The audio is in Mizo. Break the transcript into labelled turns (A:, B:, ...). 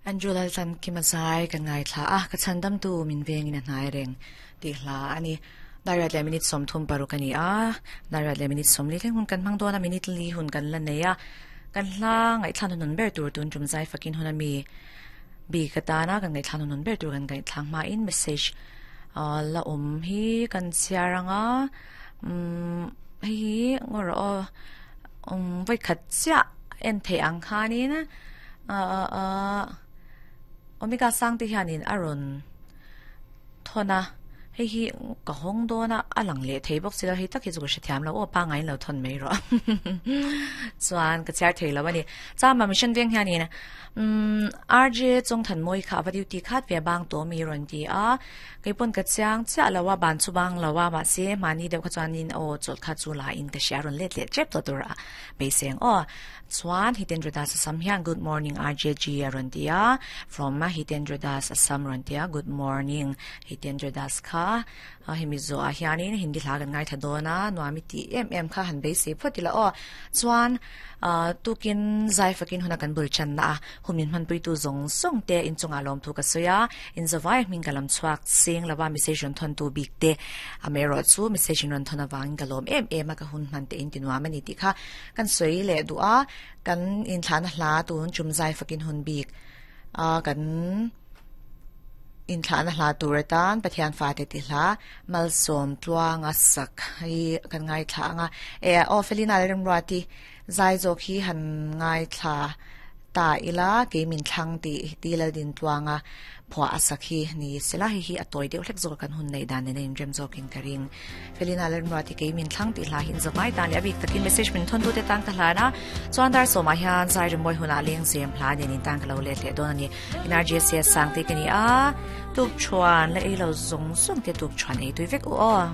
A: Andrew Laltlankima zai kan ngaithla a, ka chhandamtu min vengin a hnai reng tih hla a ni. Dariat leh minute 36 a ni a, dariat leh minute 40 thleng hun kan hmang dawn a, minute li hun kan la nei a. Kan hla ngaihthlak hnuhnun ber tur tun tum zai fakin hun a mi bik atana kan ngaihthlak hnuhnun ber tur kan ngaihthlak hmain message la awm hi kan chhiar ang a, umm hei hi ngaw rawh aw umm vawikhat chiah en theih ang khanin ah ah Omega sang te hianin a rawn thawn a hei hi ka hawng dawn a a lang leh thei bawk si lo hei tak hi chu ka hrethiam lo aw pangngai in lo thawn mai rawh chuan ka chhiar thei lo a ni chama mission veng hianin umm RJ Chawngthanmawi kha a va duty khat ve bang tawh mi rawn ti a keipawn ka chiang chiah lo a ban chu bang lo a mahse mahni deuh kha chuanin aw chawlh kha chu la in ka hria rawn let leh tep tawh tur a beiseng aw. Chuan Hitendra Das Assam hian Good morning RJG a rawn ti a, from Hitendra Das Assam rawn ti a, Good morning Hitendra Das kha hemi zawhah hianin Hindi hla kan ngaithla dawn a, nuam i tih em em kha han beisei phawt ila aw. Chuan tukin zai fakin huna kan bul channa a, hun min hmanpuitu zawng zawng te inchungah lawmthu ka sawi a, inzawai hming ka lam chhuak seng lova message rawn thawntu bik te amaherawh chu message in rawn thawn avangin ka lawm em em a, ka hun hman te in ti nuam a ni tih kha Kan sawi leh duh a, kan inthlahna hla tun chum zai fakin hun bik a kan inthlahna hla tur atan Pathian fate ti hla malsawm tluanga sak hi kan ngaithla ang a. E aw Felina leh Remruati zai zawk hi han ngaithla ta ila kei min thlang tih ti Laldin tluanga phuah a sak hi ni sela hei hi a tawi deuh hlek zawk a kan hun neih dan nen a inrem zawkin ka ring. Felina Lalmruati kei min thlang tih hla hi in zawmai tan leh a bik takin message min thawn tute tan ka hlan a, chuan dar sawmah hian zai rimawi hunah lengzem hla nen in tan ka lo let leh dawn a ni. In RJCS sang te ka ni a, tuk thuan la ei lo zawng zawng te tuk thuan ei tui vek u aw.